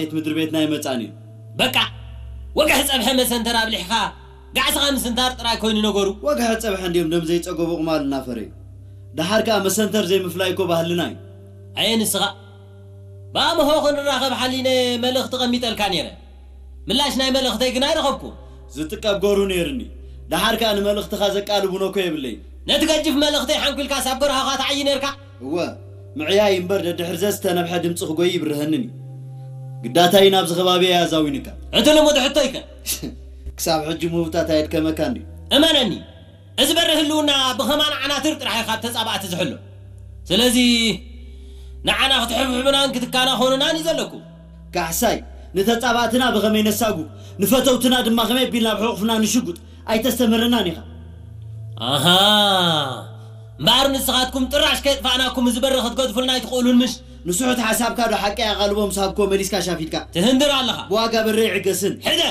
ቤት ምድሪ ቤትና ኣይመጻን እዩ። በቃ፣ ወግሒ ጸብሐ መሰንተር ኣብሊሕኻ ጋዕስኻ ምስንታር ጥራይ ኮይኑ ነገሩ። ወግሒ ጸብሐ እንዲዮም ደም ዘይጸገቡ ቁማል እናፈረዩ። ደሓር ከኣ መሰንተር ዘይምፍላይ እኮ ባህልና እዩ። ኣየ ንስኻ፣ ብኣምሆ ክንራኸብ ሓሊነ መልእኽቲ ቀሚጠልካ ነይረ። ምላሽ ናይ መልእኽተይ ግን ኣይረኸብኩ። ዝጥቀብ ጎሩ ነይርኒ። ደሓር ከኣ ንመልእኽትኻ ዘቃልቡኖ እኮ የብለይ። ነቲ ገጅፍ መልእኽተይ ሓንኩልካ ሳብ ጎርሃኻ ትዓዪ ነይርካ። እወ፣ ምዕያይ እምበር ደድሕር ዘዝተነብሐ ድምጺ ክጎይ ይብርሀንን እዩ። ግዳታይ ናብዚ ከባቢ እያ ኣዛዊንካ። እቲ ልሙድ ሕቶይከ? ክሳብ ሕጂ ምህውታት ኣየድከመካ እንድዩ። እመነኒ፣ እዚ በሪ ህልውና ብኸማን ዓናትር ጥራሕ እዩ ካብ ተጻባእቲ ዝሕሎ። ስለዚ ንዓና ክትሕብሕቡናን ክትካናኸኑናን እዩ ዘለኩም። ካሕሳይ፣ ንተጻባእትና ብኸመይ ነሳጉ፣ ንፈተውትና ድማ ከመይ ኣቢልና ኣብ ሕቑፍና ንሽጉጥ ኣይተስተምህረናን ኢኻ። ኣሃ፣ እምበኣር ንስኻትኩም ጥራሽ ከየጥፋእናኩም እዚ በሪ ክትገድፉልና ኣይትኽእሉን ምሽ? ንስሑት ሓሳብካ ዶ ሓቂ ኣቓልቦ ምስ ሃብኮ መሊስካ ሻፊትካ? ትህንድር ኣለኻ። ብዋጋ በሪ ይዕገስን። ሕደ!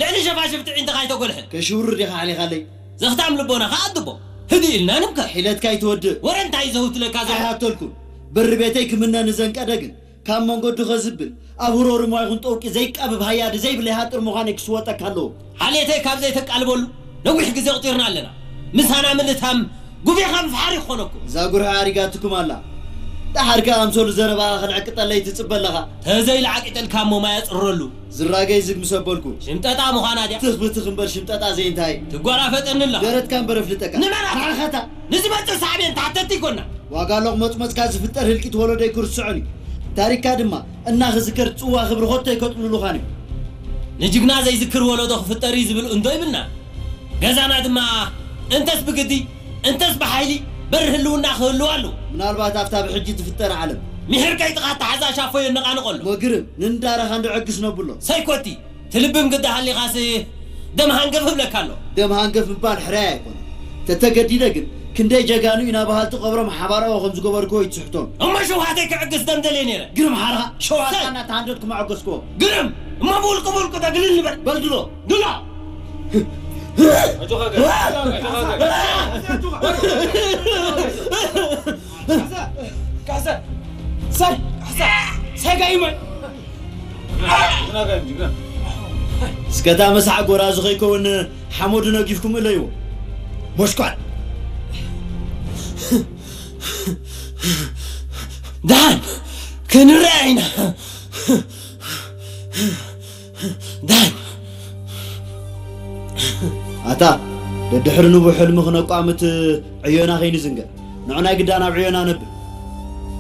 ልዕሊ ሸፋሽፍቲ ዒንትኻ ኣይተጎልሕን። ከሽውርር ዲኻ ሓሊኻለይ? ዘኽታም ልቦናኻ ኣድቦ። ህድእ ኢልና ንምከር። ሒለትካ ኣይትወድእ። ወረ እንታይ ዘህውትለካ ዘሎ? ኣይሃተልኩን። በሪ ቤተይ ክምነ ንዘንቀደ ግን ካብ መንገዱ ከዝብል ኣብ ህሮር እሞ ይኹን ጠውቂ ዘይቃብብ ሃያዲ ዘይብለይ ሃጥር ምዃነይ ክስወጠካ ኣለዎ። ሓልየተይ ካብ ዘይተቃልበሉ ነዊሕ ግዜ ኣቑጺርና ኣለና። ምሳና ምልታም ጉቤኻ ምፍሓር ይኾነኩ። እዛ ጉርሒ ኣሪጋትኩም ኣላ። ደሓር ከኣ ኣምሰሉ ዘረባኻ ክንዕቅጠለይ ትጽበ ኣለኻ። ተዘይለዓቂጠልካ እሞ ማይ ኣጽርረሉ። ዝራገይ ዝግ ምስ ኣበልኩ። ሽምጠጣ ምዃና ድያ? ትኽ ብትኽ እምበር ሽምጠጣ ዘይንታይ። ትጓራፈጠኒ ኣለኻ። ደረትካ እምበር ኣፍልጠካ። ንመን ኣታ? ንዓኻታ። ንዝመጽእ ሳዕቤን ተሓተቲ ይኮና። ዋጋ ሎቕ መጽመጽካ ዝፍጠር ህልቂት ወለዶይ ክርስዖን እዩ። ታሪክካ ድማ እናኽዝከር ጽዋ ክብሪ ኾቶ ኣይከጥልሉኻን እዩ። ንጅግና ዘይዝክር ወለዶ ክፍጠር እዩ ዝብል እንዶ ይብልና። ገዛና ድማ እንተስ ብግዲ እንተስ ብሓይሊ በሪ ህልውና ክህልው ኣለዎ። ምናልባት ኣብታ ብሕጂ ትፍጠር ዓለም። ምሒር ከይጥቓ ኣተሓዛ ሻፎ የነቓንቖ ኣሎ። እሞ ግርም፣ ንንዳረኻ እንዶ ዕግስ ነብሎ። ሰይኮቲ፣ ትልብም ግዲ ሃሊኻስ ደም ሃንገፍ እብለካ ኣሎ። ደም ሃንገፍ ምባል ሕራይ ኣይኮነን። ተተገዲደ ግን ክንደይ ጀጋኑ ኢና በሃልቲ ቀብሮም ሓባራዊ ከም ዝገበርክዎ ይትስሕቶም። እሞ ሸውሃተይ ክዕግስ ደም ደልየ ነይረ። ግርም ሓርኻ ሸውሃትካ ሰይ! እናተሃንደድኩ መዐገስክዎ። ግርም! እሞ ብውልቂ ብውልቂ ተግልል ንበል። በል ድሎ። ድሎ! ኣጆኻ ገ-፣ ኣጆኻ ገ-፣ ካሕሳ! ካሕሳ! ሳይ! ካሕሳ! ሳይ ጋይመን! ጅግና ጋይም፣ ጅግና። እስከ እታ መሳዕ ጎራዙ ከይከውን ሓመዱ ነጊፍኩም እለይዎ። ሞሽኳል! ደሓን ክንረአ ኢና። ደሓን። ኣታ፣ ደድሕሪ ንቡሕ ሕልሚ ክነቋምት ዕዮና ከይንዝንገ። ንዑ ናይ ግዳ ናብ ዕዮና ነብል።